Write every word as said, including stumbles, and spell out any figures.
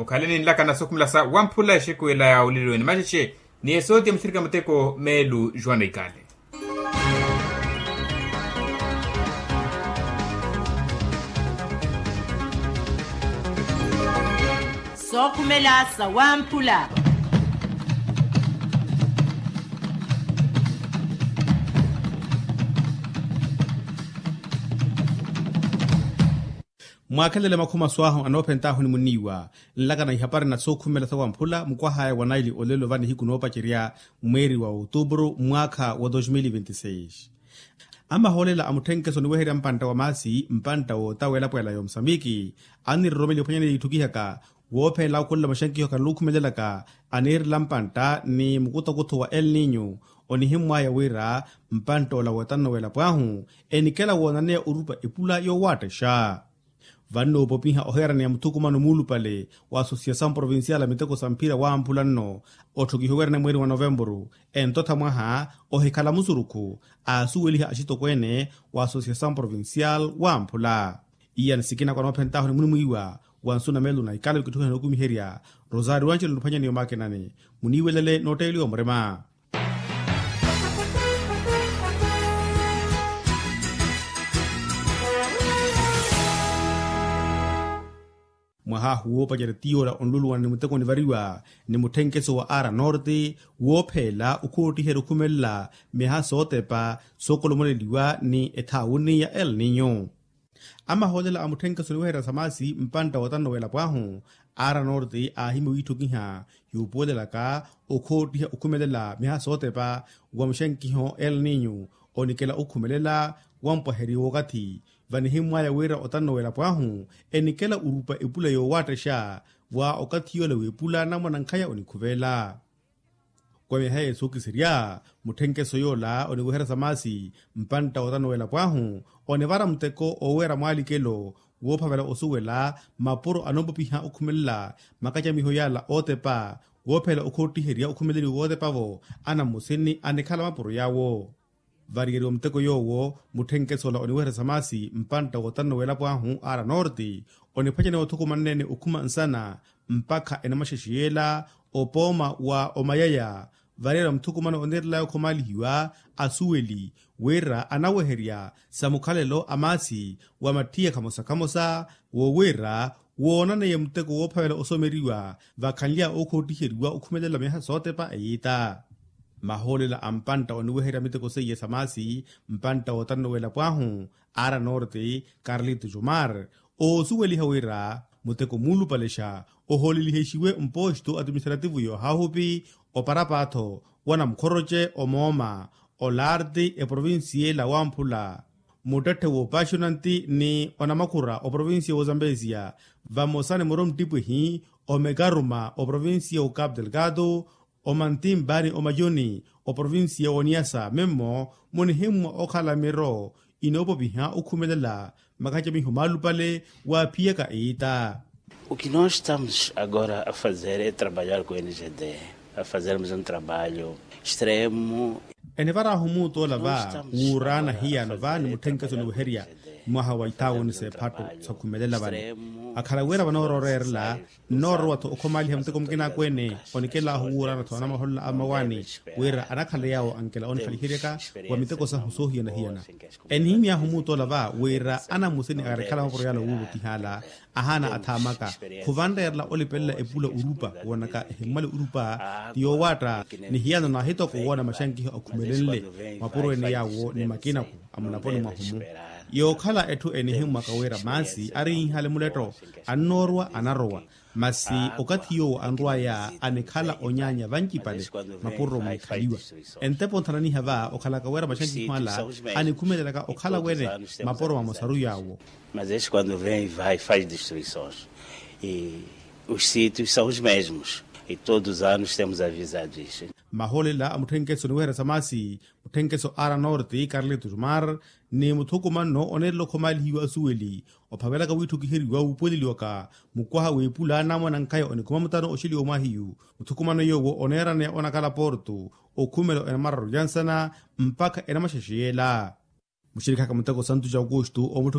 Okhaleni nlaka na sookhumela sa wamphula exekuwela ya olilweni maxexe. Ni esootiya muthirika muteko meelu juana ikale. Sookhumela sa wamphula. Mwaakhelele makhuma swaahu anoophentaahu ni muniiwa. Nlaka na ihapari na sookhumela sa wamphula mukwahaya wa naili olelo va nihiku noopacerya mweeri wa outubru mwaakha wa dos mil vinti seis. Amahoolela a mutthenkeso oniweherya mpantta wa maasi mpantta woota w'elapo ela y'omusamiki, aniroromeliwa ophwanya ni itthukihaka woophelela okhulela maxankiho khanlukhumelelaka, aniirela mpantta ni mukuthokutho wa el ninyu. Onihimmwaya wira mpantta ola wootano w'elapo ahu enikela woonaneya orupa epula yoowaattaxa. Vannoopopiha ohiyaraneya muthukumano muulupale wa asosiyasaw provincial a miteko sa mphira wamphula nno, otthokihiwa wira ni mweeri wa novempuru, entotha mwaha ohikhala musurukhu aasuweliha axitokweene wa asosiyasaw provincial wamphula. Iya ni sikina kwa noophentaahu ni munimwiiwa wa nsu na meelo na ikalo kitthukiha nookumiherya. Rosario anjelo niphwanyaniyo makinani, muniiwelele nootteeliwa murima. Mwaha ahu woopacerya tiyoola onluluwana ni muteko onivariwa ni mutthenkeso wa ara norte, woopheela okhoottiherya okhumelela miha sootepa sookolomoleliwa ni ethaawuni ya el ninyu. Amahoolela a mutthenkeso oniweherya sa maasi mpantta wootano w'elapo ahu, ara norte aahimya wiitthukiha yuupuwelelaka okhoottiha okhumelela miha sootepa wa muxankiho el ninyu, onikela okhumelela wampwaheryo w'okathi. Vanihimmwaya wira otano w'elapo ahu enikela orupa epula yoowaattaxa wa okathi yoola w'epula anamwanankhaya onikhuvela. Kwa myaha yeesookisirya mutthenkeso yoola oniweherya sa maasi mpantta wootano w'elapo ahu, onivara muteko oowera mwaalikelo woophavela osuwela mapuro anoopopiha okhumelela makacamiho yaala ootepa, woophelela okhoottiherya okhumeleliwa wootepa-vo anammusini anikhala mapuro yaawo. Variyeriwa muteko yoowo, mutthenkeso ola oniweherya sa maasi mpantta wootano w'elapo ahu ara norte oniphwanyaniwa othukumanene okhuma nsana mpakha enamaxexe yeela opooma wa omayaya. Variyeriwa muthukumano oniirelaya okhomaalihiwa asuweli wira anaweherya sa mukhalelo a maasi wa matthiyakha mosa khamosa, wo wira woonaneye muteko woophavela osomeriwa vakhanly'awe okhoottiheriwa okhumelela miyaha sootepa eyiita. Mahoolela a mpantta oniweherya miteko seiye sa maasi mpantta wootano w'elapo ahu ara norte carlito jomar, oosuweliha wira muteko muulupalexa ohoolelihexiwe mposto atiministrativu yoohahupi, oparapaatho wanamukhoroce omooma, olarti eprovincia ela wamphula, muttetthe woopaxonanti ni onamakhura oprovincia w'ozambesia, vamosa ni muro mttipwihi omekaruma oprovincia w'ocapu delgado, omantimba ni omayoni oprovincia w'oniasa mimmo munihimmwa okhala miro inoopopiha okhumelela makacamiho maalupale waaphiyaka iita. O que nós estamos agora a fazer é trabalhar com o n g d, a fazermos um trabalho extremo. Enivarahu muutoola va wuuraana hiyano va ni mutthenkeso oniweherya mwaha wa ithaawoni s'ephattu sakhumelela vano, akhala wira vanooroorerela nnoorowa-tho okhomaaliha muteko mukina akweene onikelahu wuuraana-tho anamaholola a mmawaani wira anakhala yaawo ankela onikhaliheryaka wa miteko sahu soohiyana-hiyana. Enihimy'ahu muutoola va wira anamusini aarikhala mapuro yaala wuuvutihaala ahaana athaamaka khuvanreerela olipelela epula urupa woonaka ehimmwale urupa ti yoowaatta. Ni hiyano naahitoko woona maxankiho akhumelenle mapuro ene yaawo ni makinaku a mulaponi mwahumu yookhala etthu enihimmwaka wira maasi ariinhale muletto annoorwa anarowa. Masi okathi yoowo anrw'aya anikhala onyaanya vancipale mapuro munikhaliwa. Entepo nthananiha va okhalaka wira maxankiho ala anikhumelelaka okhala wene mapuro mamosaru yaawo. Mas este quando vem vai faz destruições e os sítios são os mesmos e todos os anos temos avisado isso. Mahoolela a mutthenkeso oniweherya sa maasi mutthenkeso ara norte carlito jomar ni muthukumanno oneerela okhomaalihiwa asuweli ophavelaka wiitthukiheriwa wuupuweleliwaka mukwaha w'epula anamwanankhaya onikhuma mutano oxeliwa omwahiyu. Muthukumano yoowo oneeraneya onakhala porto okhumela enamararu ya nsana mpakha enamaxexe yeela. Muxirikhaka muteko santu ja aukustu